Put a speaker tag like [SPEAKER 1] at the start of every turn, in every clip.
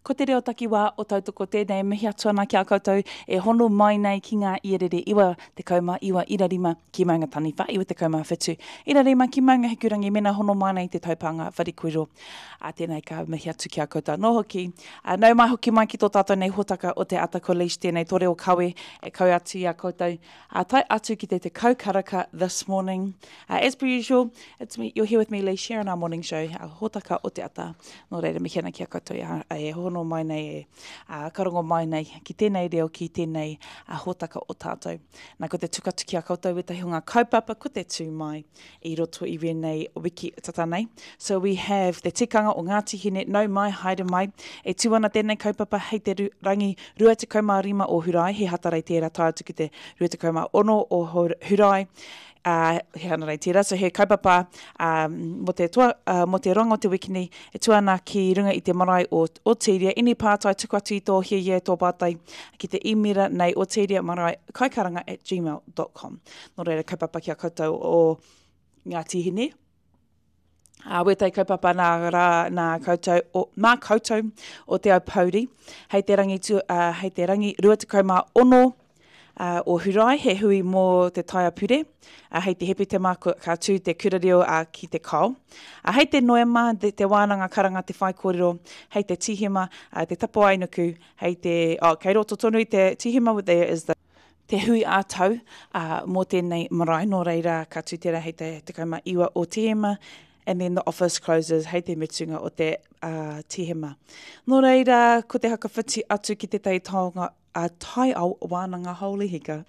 [SPEAKER 1] Ko te reo takiwā o Tautoko tēnei e mihi atu ana ki a koutou e hono mai nei ki ngā ierere 99 ira rima ki Maungataniwha, 97 ira rima ki Maungahikurangi mena hono mai nei te taupānga wharekoiro. Ā, tēnei ka mihi atu ki a koutou anō hoki. Ā, nau mai hoki mai ki tō tātou nei hōtaka o te Ata Ko Leish tēnei tō reo kawe e kawe atu i a koutou. Ā, tae atu ki te tekau karaka this morning. Uh, as per usual, it's me, you're here with me, Lee Shearer, our morning show, our hōtaka o te ata. Nō reira, mihi ana ki a koutou e, e hono mai nei, e a, karongo mai nei ki tēnei reo, ki tēnei a, hōtaka o tātou. Nā, ko te tuku atu ki a koutou wētahi o ngā kaupapa, ko te tū mai i roto i wēnei wiki tata nei. So we have te tikanga o Ngāti Hine, nau mai, haere mai. E tū ana tēnei kaupapa hei te rangi 25 o Hurae, he Hatarei tērā tae atu ki te 26 o Hurae, ā, he Hanarei tērā. So he kaupapa um, mō te, toa, uh, mō te roanga o te wiki nei, e tū ana ki runga i te marae o Otiria. Ini pātai, tuku atu i tō hiahia, tō pātai ki te īmera nei otiria marae kaikaranga at gmail.com. Nō reira, kaupapa ki a koutou o Ngāti Hine. Ā, wētahi kaupapa nā rā, nā koutou, o, mā koutou o Te Aupōuri, hei te rangi, tu, uh, hei te rangi 26 uh, o Hurae, he hui mō te taiapure, uh, hei te Hepetema ka tū te kura reo uh, ki te Kao. Uh, hei te Noema, te, te wānanga karanga te whaikōrero, hei te Tīhema, uh, te tapuaenuku, hei te, oh, kei roto tonu i te Tīhema, there is the te hui ā-tau uh, mō tēnei marae, nō reira ka tū tērā hei te 19 o Tīhema, and then the office closes hei te mutunga o te uh, Tīhema. Nō reira, ko te hakawhiti atu ki tētahi taonga a taiao wānanga holy hika.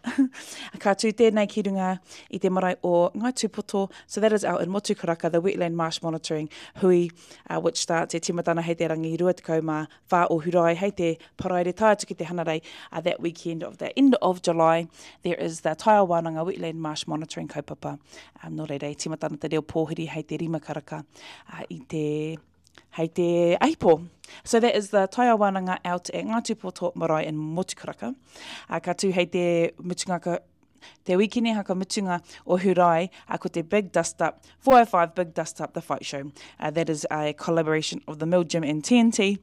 [SPEAKER 1] ka tū tēnei ki runga i te marae o Ngāi Tūpoto, so that is out in Motukaraka, the wetland marsh monitoring hui, uh, which starts e tīmatana hei te rangi 24 o Hurae, hei te Paraire tae atu ki te Hanarei, uh, that weekend of the end of July, there is the Taiao Wānanga Wetland Marsh Monitoring kaupapa. Um, nō reira, e tīmata ana te reo pōhiri hei te rima karaka uh, i te hei te ahipo. So that is the Taiao Wānanga out at Ngā Tūpoto Marae in Motukaraka. Uh, ka tū hei te mutunga ka, te wikine haka mutunga o Hurae, uh, ko te Big Dust Up, 405 Big Dust Up The Fight Show. Uh, that is a collaboration of the Mill Gym and TNT.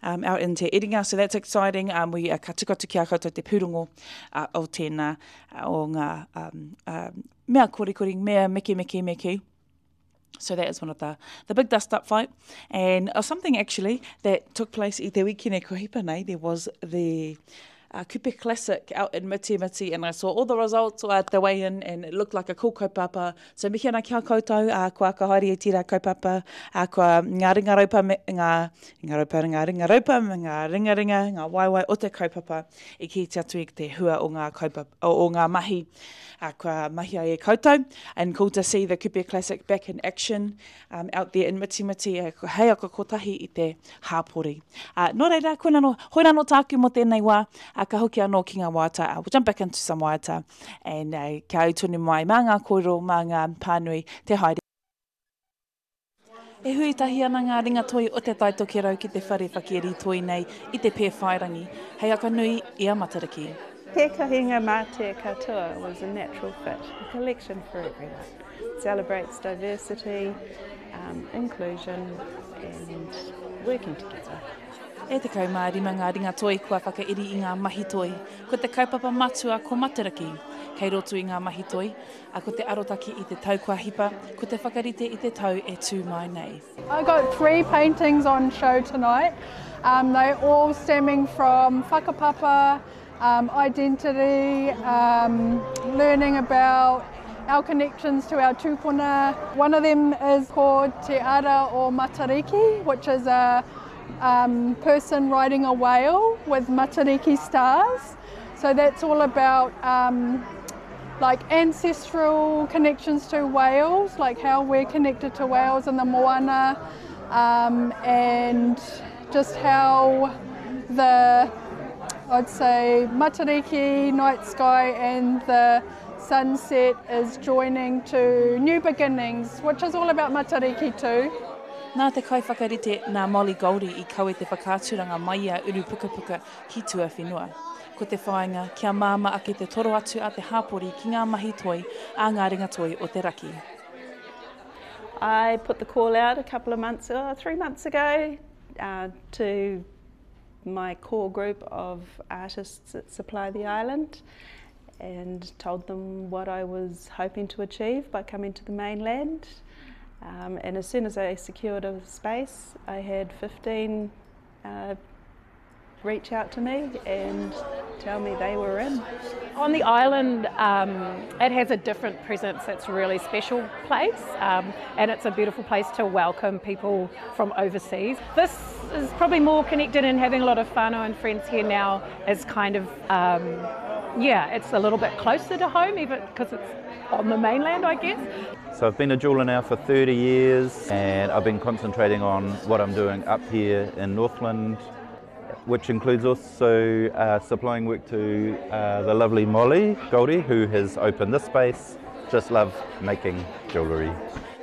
[SPEAKER 1] Um, out in Te Iringa, so that's exciting. Um, we uh, ka tuku atu ki a koutou te pūrongo uh, o tēnā, uh, o ngā um, um, mea korikori, mea meke meke meke. So that is one of the, the big dust up fight. And uh, something actually that took place i te wikine ko hipa nei, there was the uh, Kupe Classic out in Miti Miti and I saw all the results at the way in and it looked like a cool kaupapa. So mihi ana ki a koutou, uh, kua ka haere e tērā kaupapa, uh, kua ngā ringa raupa, me, ngā, ringa raupa, ngā ringa raupa, me ngā ringa ringa, ngā waewae o te kaupapa i kite atu i te hua o ngā kaupapa, o, o ngā mahi uh, kua mahia e koutou. And cool to see the Kupe Classic back in action um, out there in Mitimiti, uh, hei aka kotahi i te hāpori. Uh, nō reira, koina no, hoina no tāku mō tēnei wā, uh, ka hoki anō ki ngā waiata. Uh, we'll jump back into some waiata and uh, kia au tonu mai mā ngā kōrero, mā ngā pānui, te haere. E hui tahi ana ngā ringatoi o Te Tai Tokerau ki te whare whakairi toi nei i te Pēwhairangi, hei akanui i a Matariki.
[SPEAKER 2] Te Kohinga Mā Te Katoa was a natural fit, a collection for everyone. It celebrates diversity, um, inclusion and working together.
[SPEAKER 1] E 15 ngā ringatoi kua whakairi i ngā mahi toi. Ko te kaupapa matua ko Matariki. Kei roto i ngā mahi toi, A ko te arotake i te tau kua hipa, ko te whakarite i te tau e tū mai nei.
[SPEAKER 3] I got three paintings on show tonight. Um, they all stemming from whakapapa, um, identity, um, learning about our connections to our tūpuna. One of them is called Te Ara o Matariki, which is a um, person riding a whale with Matariki stars. So that's all about um, like ancestral connections to whales, like how we're connected to whales and the moana, um, and just how the, I'd say, Matariki night sky and the sunset is joining to new beginnings, which is all about Matariki too.
[SPEAKER 1] Nā te kaiwhakarite, nā Molly Goldie i kawe te whakaaturanga mai i a Urupukapuka ki tuawhenua. Ko te whāinga, kia māmā ake te toro atu a te hāpori ki ngā mahi toi a ngā ringatoi o te raki.
[SPEAKER 2] I put the call out a couple of months, oh, three months ago uh, to my core group of artists that supply the island and told them what I was hoping to achieve by coming to the mainland. Um, and as soon as I secured a space, I had 15 uh, reach out to me and tell me they were in.
[SPEAKER 4] On the island, um, it has a different presence. It's a really special place, um, and it's a beautiful place to welcome people from overseas. This is probably more connected and having a lot of whānau and friends here now is kind of, um, yeah, it's a little bit closer to home, even because it's on the mainland, I guess.
[SPEAKER 5] So I've been a jeweller now for 30 years and I've been concentrating on what I'm doing up here in Northland which includes also uh, supplying work to uh, the lovely Molly Goldie, who has opened this space. Just love making jewellery.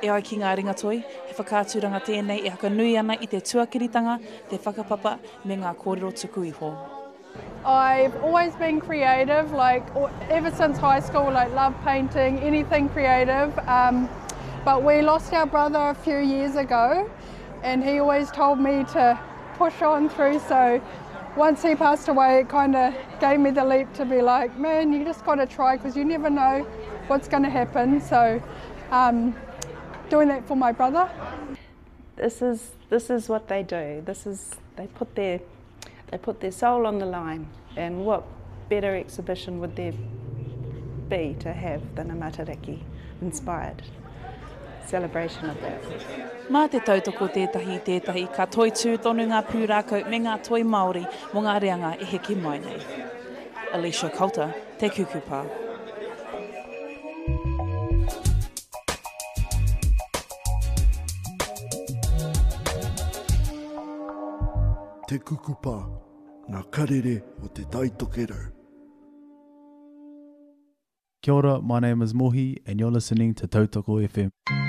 [SPEAKER 1] E ai ki ngā ringatoi, he whakaaturanga tēnei e hakanui ana i te tuakiritanga, te whakapapa me ngā kōrero tuku iho.
[SPEAKER 3] I've always been creative, like ever since high school, like love painting, anything creative. Um, but we lost our brother a few years ago, and he always told me to push on through. So once he passed away, it kind of gave me the leap to be like, man, you just got to try because you never know what's going to happen. So um, doing that for my brother.
[SPEAKER 2] This is this is what they do. This is they put their they put their soul on the line, and what better exhibition would there be to have than a Matariki inspired celebration of that.
[SPEAKER 1] Mā te tautoko tētahi i tētahi, ka toitū tonu ngā pūrākau me ngā toi Māori mō ngā reanga e heke mai nei. Alicia Coulter, Te Kukupa.
[SPEAKER 6] Te Kukupa, ngā karere o Te Tai Tokerau.
[SPEAKER 7] Kia ora, my name is Mohi and you're listening to Tautoko FM.